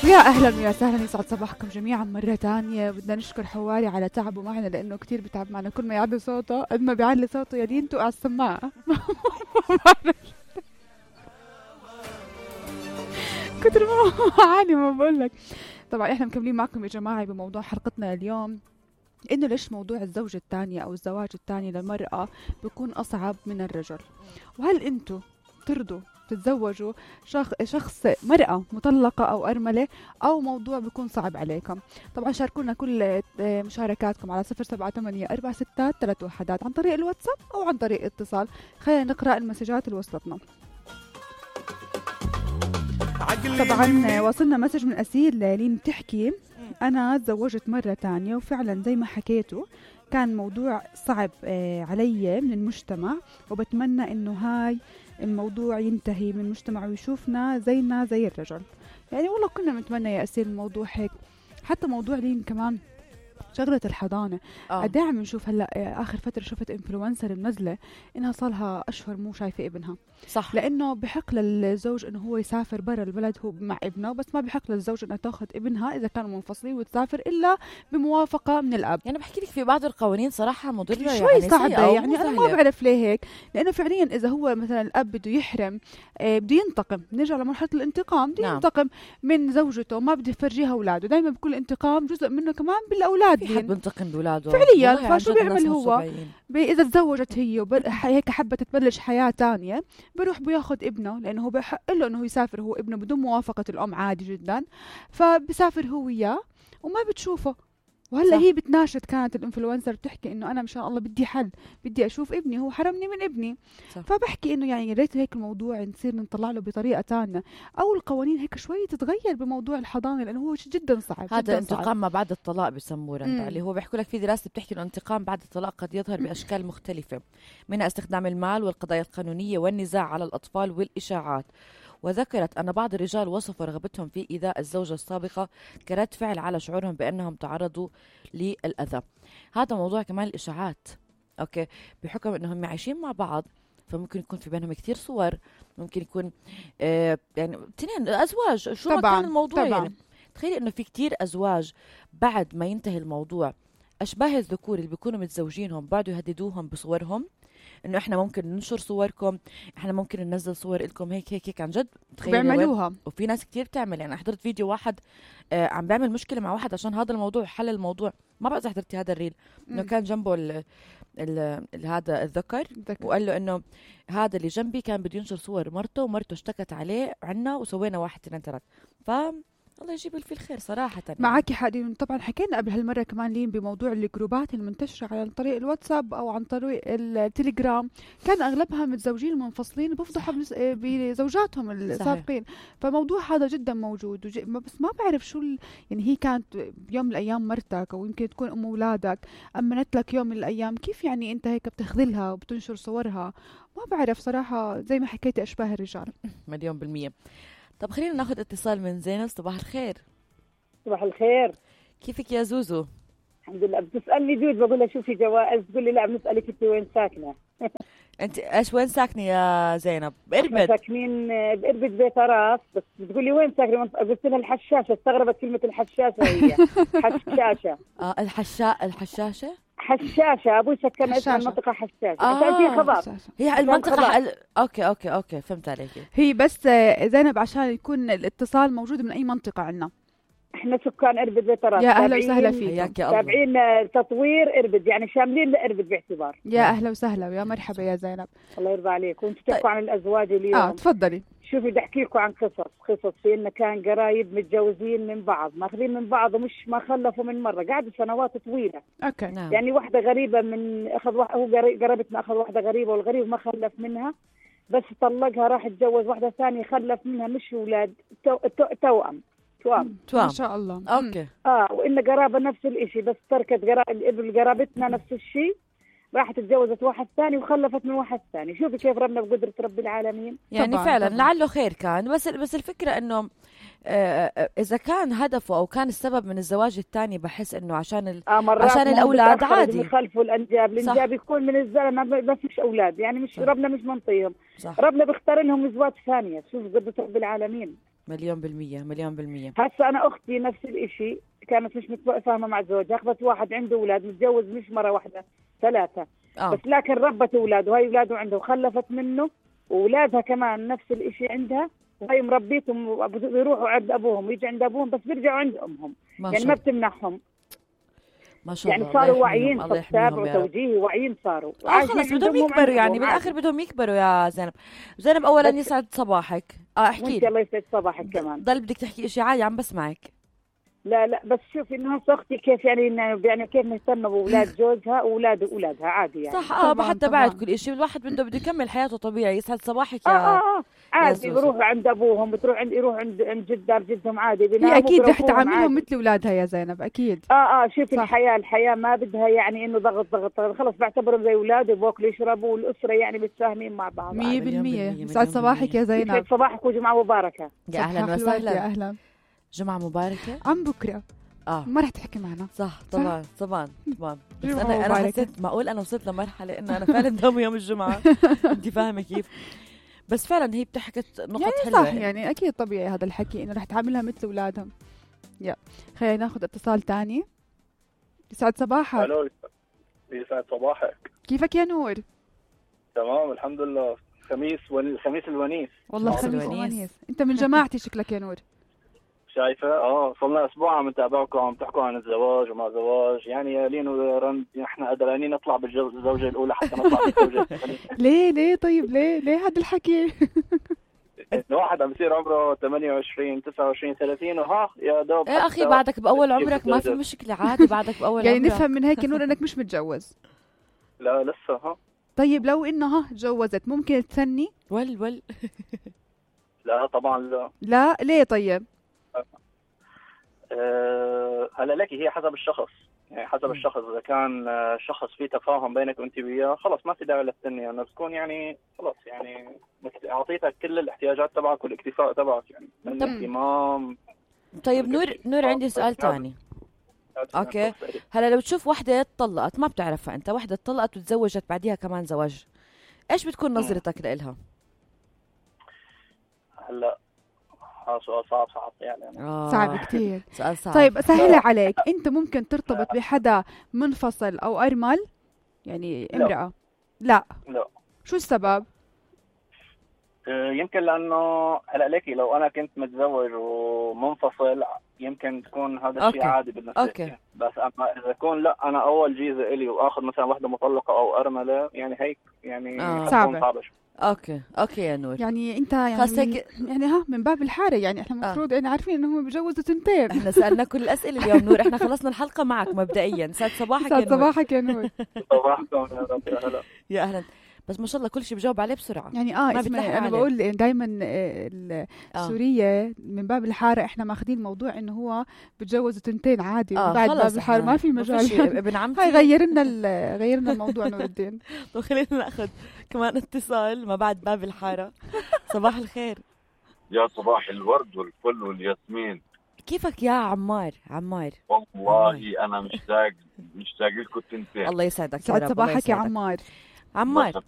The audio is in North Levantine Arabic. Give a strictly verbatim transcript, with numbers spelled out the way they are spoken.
يا أهلا ويا سهلا، يسعد صباحكم جميعا مرة تانية. بدنا نشكر حواري على تعبه معنا لأنه كتير بتعب معنا، كل ما يعلي صوته قد ما بيعلي صوته يا دين توقع السماعة. كتر ما عاني ما بقولك. طبعا احنا مكملين معكم يا جماعة بموضوع حلقتنا اليوم، إنه ليش موضوع الزوجة الثانية أو الزواج الثاني للمرأة بيكون أصعب من الرجل، وهل أنتوا ترضوا تتزوجوا شخص, شخص مرأة مطلقة أو أرملة، أو موضوع بيكون صعب عليكم؟ طبعا شاركونا كل مشاركاتكم على صفر سبعة ثمانية أربعة ستة ثلاثة وحدات عن طريق الواتساب أو عن طريق اتصال. خلينا نقرأ المسجات اللي وصلتنا. طبعا وصلنا مسج من أسيل لين بتحكي: أنا تزوجت مرة تانية وفعلا زي ما حكيتوا كان موضوع صعب علي من المجتمع، وبتمنى إنه هاي الموضوع ينتهي من المجتمع ويشوفنا زينا زي الرجل. يعني والله كنا متمنى يا أسيل الموضوع هيك. حتى موضوع لين كمان شغلة الحضانة قد ايه عم نشوف هلا اخر فترة شفت انفلونسر منزلة انها صارها اشهر مو شايفة ابنها. صح، لانه بحق للزوج انه هو يسافر برا البلد هو مع ابنه، بس ما بحق للزوج انها تاخذ ابنها اذا كانوا منفصلين وتسافر الا بموافقة من الاب. يعني بحكي لك في بعض القوانين صراحة مضرة شوي يعني صعبة. يعني انا ما بعرف ليه هيك، لانه فعليا اذا هو مثلا الاب بده يحرم آه بده ينتقم، نرجع لمرحلة الانتقام، بده نعم. ينتقم من زوجته، ما بده يفرجيها اولاده. دايما بكل انتقام جزء منه كمان بالاولاد. في حد بنتقم بولاده فعليا. فشو بيعمل هو؟ إذا تزوجت هي وهيك حبت تبلش حياة تانية، بروح بياخد ابنه، لأنه هو بحق له إنه يسافر هو ابنه بدون موافقة الأم عادي جدا، فبسافر هو وياه وما بتشوفه. وهلا هي بتناشد كانت الانفلونسر بتحكي انه انا مشان الله بدي حل، بدي اشوف ابني، هو حرمني من ابني. صح. فبحكي انه يعني يا ريت هيك الموضوع نصير نطلع له بطريقه ثانيه، او القوانين هيك شوي تتغير بموضوع الحضانه، لانه هو جدا صعب. هذا انتقام ما بعد الطلاق بسموه رندا، اللي هو بيحكوا لك في دراسه بتحكي انه الانتقام بعد الطلاق قد يظهر باشكال مختلفه، منها استخدام المال والقضايا القانونيه والنزاع على الاطفال والاشاعات. وذكرت أن بعض الرجال وصفوا رغبتهم في إيذاء الزوجة السابقة كرد فعل على شعورهم بأنهم تعرضوا للأذى. هذا موضوع كمان الإشاعات، أوكي، بحكم أنهم عايشين مع بعض، فممكن يكون في بينهم كتير صور، ممكن يكون آه يعني تنين أزواج، شو ما كان الموضوع. طبعاً. يعني تخيلي أنه في كتير أزواج بعد ما ينتهي الموضوع أشباه الذكور اللي بيكونوا متزوجينهم بعدوا يهددوهم بصورهم، انه احنا ممكن ننشر صوركم، احنا ممكن ننزل صور لكم هيك هيك هيك. عن جد بيعملوها، وفي ناس كتير بتعمل. يعني حضرت فيديو واحد آه عم بيعمل مشكله مع واحد عشان هذا الموضوع، حل الموضوع. ما بعرف اذا حضرتي هذا الريل، انه كان جنبه ال ال ال هذا الذكر، وقال له انه هذا اللي جنبي كان بده ينشر صور مرته، ومرته اشتكت عليه عنا وسوينا واحد اثنين ثلاث. ف الله يجيب في الخير صراحة. يعني. معك حق. طبعا حكينا قبل هالمرة كمان لين بموضوع الجروبات المنتشرة عن طريق الواتساب أو عن طريق التليجرام، كان أغلبها متزوجين منفصلين بفضحوا بزوجاتهم السابقين. فموضوع هذا جدا موجود، وج... بس ما بعرف شو ال... يعني هي كانت يوم من الأيام مرتك، أو يمكن تكون أم أولادك، أمنت لك يوم من الأيام، كيف يعني أنت هيك بتخذلها وبتنشر صورها؟ ما بعرف صراحة، زي ما حكيت أشباه الرجال مليون بالمية. طب خلينا ناخذ اتصال من زينب. صباح الخير. صباح الخير، كيفك يا زوزو؟ الحمد لله. بتسألني جود، بقول لها شوفي جوائز، تقول لي لا بنسألك انت وين ساكنة. انت ايش وين ساكنة يا زينب؟ بإربد. ساكنين بإربد بيت راس، بس بتقول لي وين ساكنة؟ قلت لها الحشاشة، استغربت كلمة الحشاشة. هي حشاشة. اه الحشا الحشاشة حشاشة. أبوي سكن اسمها المنطقة حشاشة. آه. في خبر هي المنطقة ال... أوكي أوكي أوكي فهمت عليك. هي بس زينب عشان يكون الاتصال موجود من أي منطقة عنا. احنا سكان إربد بيت راس. يا أهلا وسهلا فيك. تابعين تطوير إربد، يعني شاملين لإربد باعتبار. يا أهلا وسهلا ويا مرحبا يا زينب. الله يرضى عليك. وانتم تحكوا طيب. عن الأزواج اليوم. اه تفضلي. شوفي بدي احكي لكم عن قصص قصص في انه كان قرايب متجوزين من بعض، ماخذين من بعض ومش ما خلفوا من مره، قعدوا سنوات طويله. اوكي. نعم. يعني واحده غريبه من اخذ واحد، هو قريبتنا اخذ واحده غريبه، والغريب ما خلف منها، بس طلقها راح يتجوز واحده ثانيه خلف منها مش اولاد، تو تو توأم توأم توأم ما شاء الله. اوكي. اه وان قرابه نفس الشيء، بس تركت قرابتنا نفس الشيء، راحت اتجوزت واحد ثاني وخلفت من واحد ثاني. شوفي كيف ربنا بقدرة رب العالمين. يعني طبعاً فعلا طبعاً. لعله خير كان، بس بس الفكرة انه آه اذا كان هدفه او كان السبب من الزواج الثاني، بحس انه عشان ال... آه عشان الاولاد عادي يخلفوا الانجاب. الانجاب يكون من الزلمه بس مش اولاد، يعني مش صح. ربنا مش منطيهم، ربنا بيختار لهم ازواج ثانيه. شوف قدرة رب العالمين. مليون بالمية مليون بالمية. هسه انا اختي نفس الاشي، كانت مش متفاهمه مع زوجها، اخذت واحد عنده اولاد، متجوز مش مره واحده ثلاثه. آه. بس لكن ربت اولاده، وهي اولاده عنده وخلفت منه، واولادها كمان نفس الاشي عندها، وهي مربيتهم بيروحوا عند ابوهم ويجي عند ابوهم، بس بيرجعوا عند امهم، ما يعني شاء ما الله بتمنعهم. ما شاء الله. يعني صاروا واعيين، الله تتابع يحميهم يا رب. وتوجيهي، واعيين صاروا. اه وعايشين خلص عند بدهم أمهم، يكبروا عند يعني أبوهم بالاخر عادي. بدهم يكبروا يا زينب. زينب اولا بس- يسعد صباحك. اه احكي وانت لي. الله يسعد صباحك كمان. ضل بدك تحكي اشي عادي عم بسمعك. لا لا بس شوفي انه هسه اختي كيف يعني إنه- يعني كيف مهتمه باولاد جوزها واولاد اولادها عادي يعني. صح اه طبعاً، حتى طبعاً. بعد كل اشي الواحد بده بده يكمل حياته طبيعي. يسعد صباحك اه يا اه اه عادي، زوزو. بيروحوا عند ابوهم، بتروح عند يروح عند عند جد دار جدهم عادي، هي بيناموا اكيد رح بيروحوهم تعاملهم عادي. مثل اولادها يا زينب، اكيد. اه اه شوفي صح. الحياه الحياه ما بدها يعني انه ضغط ضغط ضغط. خلص بعتبرهم زي اولاد، بياكلوا يشربوا، والاسره يعني متفاهمين مع بعض. مية مليون بالمية. بالمية، يسعد مليون صباحك يا يسعد زينب. صباحك وجمعه مباركه. يا اهلا صباح الورد، يا وسهلا. اهلا. جمعة مباركة. عم بكره اه ما رح تحكي معنا. صح طبعا طبعا طبعا. بس جمعة انا انا مباركة. حسيت معقول انا وصلت لمرحله انه انا فعلا دوم يوم الجمعه. انت فاهمه كيف؟ بس فعلا هي بتحكت نقط يعني حلوه. صح، يعني اكيد طبيعي هذا الحكي انه رح تعاملها مثل اولادهم. يا خلينا ناخذ اتصال تاني. يسعد صباحك. الو، يسعد صباحك. كيفك يا نور؟ تمام الحمد لله. خميس ون... الخميس الونيس. والله خميس خميس الونيس. ونيس. انت من جماعتي شكلك يا نور. شايفه؟ اه صرنا اسبوع عم نتابعكم، عم تحكوا عن الزواج وما زواج، يعني يا لين ورند احنا قدرانين نطلع بالزوجه الاولى حتى نطلع بالزوجه الثانيه. ليه ليه طيب ليه ليه هذا الحكي؟ الواحد عم يصير عمره ثمانية وعشرين تسعة وعشرين ثلاثين وها يا دوب. ايه اخي بعدك باول عمرك ما في مشكله عادي. بعدك باول يعني عمرك. نفهم من هيك نور انك مش متجوز. لا لسه. ها طيب لو انه ها تجوزت ممكن تثني؟ ول ول. لا طبعا لا. لا ليه طيب؟ أه هلا لك هي حسب الشخص، يعني حسب الشخص. اذا كان آه، شخص فيه تفاهم بينك وانت وياه خلص ما في داعي للثنيه، يعني تكون يعني خلص يعني مثل اعطيتك كل الاحتياجات تبعك والاكتفاء تبعك، يعني من طب- الاهتمام. طيب نور نور عندي سؤال تاني. أوكي. هلا لو تشوف وحده اتطلقت ما بتعرفها انت، وحده اتطلقت وتزوجت بعديها كمان زواج، ايش بتكون نظرتك لإلها؟ هلا هذا سؤال صعب صعب يعني. آه. صعب كتير. سؤال صعب. طيب سهلة عليك، انت ممكن ترتبط بحدا منفصل او ارمل؟ يعني لا. امرأة؟ لا. لا شو السبب؟ آه، يمكن لانه هلا ليكي لو انا كنت متزوج ومنفصل يمكن تكون هذا الشيء أوكي. عادي بالنسبه أوكي. لي. بس اما اذا يكون لا انا اول جيزه الي واخذ مثلا وحده مطلقه او ارمله، يعني هيك يعني آه. حتكون صعبة. صعبه شوي. اوكي اوكي يا نور. يعني انت يعني خلص من هيك. يعني ها من باب الحارة، يعني احنا المفروض يعني عارفين انهم بيجوزوا تنتين. احنا سالنا كل الاسئله اليوم نور. احنا خلصنا الحلقه معك مبدئيا. سعد صباحك يا يسعد نور. صباحك يا نور. صباحكم يا رب يا هلا. يا اهلا. بس ما شاء الله كل شيء بجاوب عليه بسرعه. يعني اه ما اسمعي بتلحق انا عليه. بقول دائما آه. السورية من باب الحارة احنا ماخذين موضوع انه هو بتجوزوا تنتين عادي، اه من بعد خلص باب الحارة إحنا ما في مجال. فيش ابن عمتي. هاي غيرنا ال- غيرنا الموضوع نور الدين. طب خلينا ناخذ كمان اتصال ما بعد باب الحاره. صباح الخير. يا صباح الورد والفل والياسمين. كيفك يا عمار؟ عمار والله انا مشتاق مشتاق لكم تنتين. الله يسعدك يا سعد رب. الله صباحك يا يسعدك. عمار. عمار